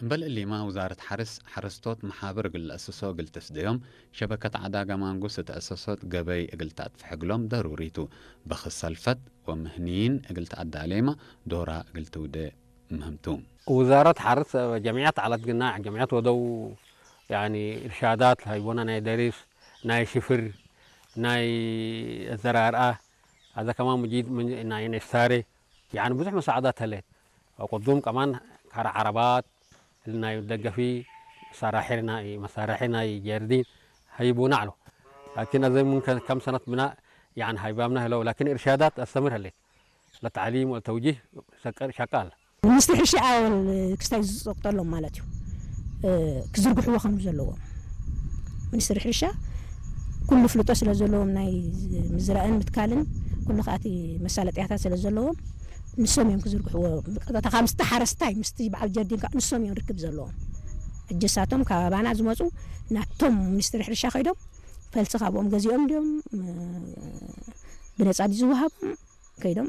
እምበል እሊማ ውዛረት ሓርስ ሓረስቶት መሓብር እግል ለእሰሶ እግል ተስደዮም ሸበከት ዓዳጋ ማንጉስ እተእሰሶት ገበይ እግል ተጥፍሕ እግሎም ደሩሪቱ። በኽሰልፈት ወምህኒይን እግል ተኣዳሌማ ዶራ እግል ትውደ ምህምቱ። ውዛረት ሓርስ ጀምዕያት ዓላት ግና ጀምዕያት ወደው ያኒ እርሻዳት ሃይቦና ናይ ደሪስ ናይ ሽፍር ናይ ዘራርኣ ኣዛ ከማን ሙጂድ ናይ ነስታሬ ያኒ ብዙሕ መሳዕዳት ተለት ቅዱም ከማን ካራ ዓረባት ናይ ደገፊ መሳራሒ ናይ መሳራሒ ናይ ጀርዲን ሃይቦና ኣሎ። ላኪን ኣዘ ምን ከም ሰነት ብና ያኒ ሃይባምና ህለው ላኪን እርሻዳት ኣስተምር ህሌት ለተዕሊም ወተውጂህ ሸቀል ሸቃል። ሚኒስትሪ ሕርሻ ኣወል ክስታይ ዝጸቅጠሎም ማለት እዩ። ክዝርግሕዎ ከም ዘለዎም ሚኒስትሪ ሕርሻ ኩሉ ፍልጦ ስለ ዘለዎም ናይ ምዝራእን ምትካልን ኩሉ ከኣቲ መሳለጥያታት ስለ ዘለዎም ንሶም እዮም ክዝርግሕዎ። ቀጥታ ካብ ምስቲ ሓረስታይ ምስቲ በዓል ጀርዲን ከዓ ንሶም እዮም ርክብ ዘለዎም። እጀሳቶም ካብ ኣባና ዝመፁ ናቶም ሚኒስትሪ ሕርሻ ከይዶም ፈልሲ ካብኦም ገዚኦም ድዮም ብነፃ ድዩ ዝወሃቦም ከይዶም